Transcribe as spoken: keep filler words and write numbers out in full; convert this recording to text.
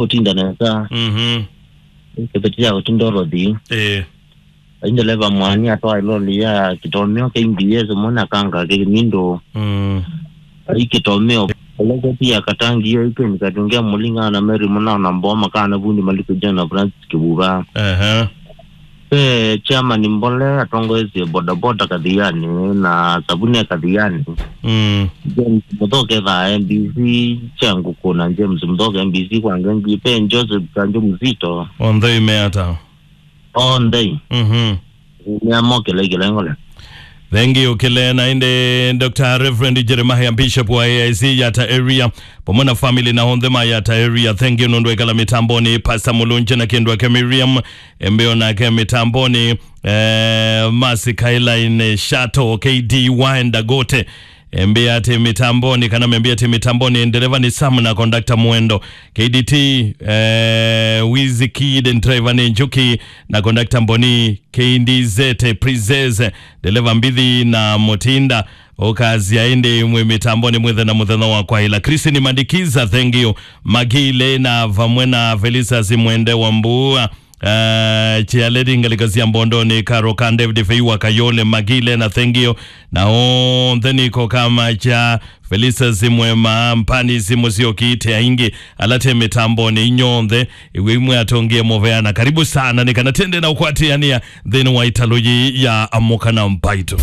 ũtinda nesa. Mhm. Kĩveti ya ũtinda ũrothi. Eh. Ai ndeleva mwani atwaa iloli ya kĩtomeo kĩ mbs mwana kanga kĩmindu. Mm. Ai kĩtomeo. Olekoti ya katangi yo ikeni katungia mulinga na Mary Munao na Mboma kana vundi Maliku John na Francis Kibuba. Aha. Pe chairman Mbole atongoesye bodaboda Kathiani na Sabune Kathiani. Mm. James Muthoke tha M B C changu kuna James Muthoke M B C kwa ngengi pe Joseph Kanjo Mzito. Onthe imeata. Onthe. Mhm. Nĩamokĩle kĩlengole. Thank you kĩle na ĩndĩ Doctor Reverend Jeremiah, Bishop wa A I C Yatta area, pamwe na family na onthe ma Yatta area. Thank you nũndũ ekala mitamboni, Pastor Mulunje na kĩndũ ake Miriam Embeo nake mitamboni, eh, Masi Kailaine Shato K D wa Endagote. Embea atĩ mitamboni, kana membea atĩ mitamboni, ndereva nĩ Sam na conductor Mwendo. K D T, eh, Wizzy Kid, driver nĩ Njuki, na conductor Mboni, K D Z, Princess, ndereva Mbithi na Mutinda. Ũkazia ĩndĩ mwĩ mitamboni mwĩthe na mũthenya wa kwaĩla. Christine Madikiza, thank you. Magile na vamwe na Felicitas Mwende wa Mbua. Uh, Chialedi ngalĩko sya Mbondoni, Karo ka David Feiwa Kayole, Magile na Thengio, na onthe nĩko kama cha Felisa Simwema, Mpani Simu Siokite, aingĩ ala te mitamboni, inyonthe iwe imwe atongie mũvea na karibu sana, nĩ kana tende na ũkwatĩania nthĩnĩ wa italo yĩ ya Amũka na Mbaitũ.